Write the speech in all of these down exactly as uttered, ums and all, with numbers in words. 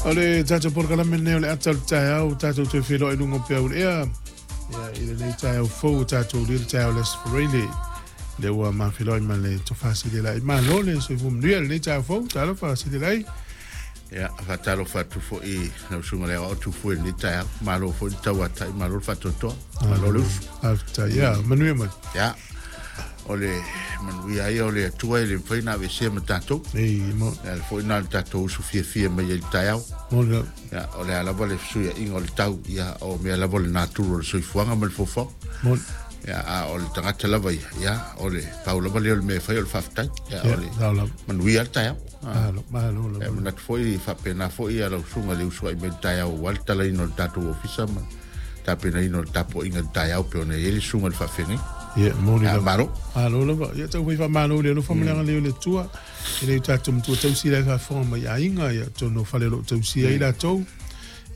O le tatou polokalame lenei o le ata o le taeao, tatou toe feiloai i luga o peau le ea. Ia, i lenei taeao fou o tatou ulia le taeao o le Aso Faraile. Lea ua mafeiloai ma le Tofa Silia Laei. Malo le soifua manuia i lenei taeao fou. Talofa Silia Laei. Ia, faatalofa atu foi i lau susuga i le Aoao Tufue i lenei taeao. Malo foi le tauatai, malo le faatoatoa, malo le usu. Faafetai. Ia, manuia mai. Ia, o le manuia ia o le Atua e le mafai ona aveesea ma tatou. Ei, mo. Ia, le foi lena o le tatou usu fiafia mai ai i le taeao. Mo le. Ia, o le a lava le fesuiaiga o le tau, ia, o mea lava o le natura o le soifuaga ma le fofoga. Mo. Ia, a o le tagata lava ia, ia, o le pau lava lea o le mea e fai o le faafetai. Ia, o le manuia le taeao. Malo, malo lava. E manatu foi faapena foi ia lau susuga i le usuai mai i le taeao aua le talaina o le tatou ofisa ma tapenaina o le tapuaiga i le taeao pei ona i ai le susuga i le faafeagaiga. Ia, moni Ia, lava. Malo. Malo lava. Ia, tau fai faamalo i le alofa ma le agalelei o le Atua. E le o tatou matua tausi la e faafofoga mai i aiga, ia, atonu o fale o lo o tausia ai latou.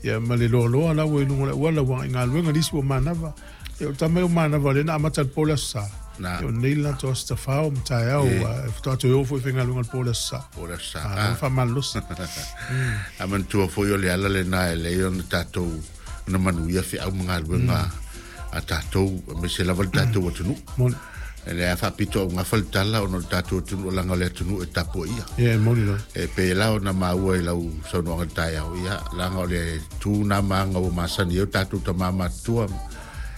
Ia, ma le loaloa la ua i luga o le auala ua agai i galuega, nisi ua manava. Ia, o le tama ia o manava lea na amata i le po o le Aso Sa. Na. Ia, o nei le latou aso tafao ma taeao, ua faatoa toe o foi i faigaluega i le po o le Aso Sa. Po o le Aso Sa. Malo faamalolosi. A manatua foi o le ala lena e lelei ona tatou ona manuia feau ma galuega a tatou, aemaise lava le tatou atunuu. Moni. E le a faapito augafa le tala ona o le tatou atunuu, leaga o le atunuu e tapuaia. Ia, e moni lava. E pei la ona maua i lau saunoaga i le taeao, ia, leaga o le tu na ma aga ua masani ai o tatou tama matutua.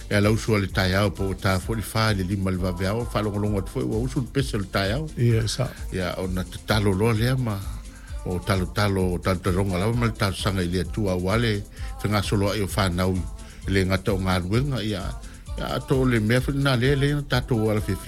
E ala usu a le taeao po ua ta foi le fa i le lima i le vaveao, faalogologo atu foi ua usu le pese o le taeao. Ia, sa. Ia, ona tatalo loa lea ma o talotalo, o talotaloga lava ma le talosaga i le Atua aua le fegasoloai o fanau i le gata o galuega, ia, ia ato o le mea foi lena lea lea na tatou alafefia.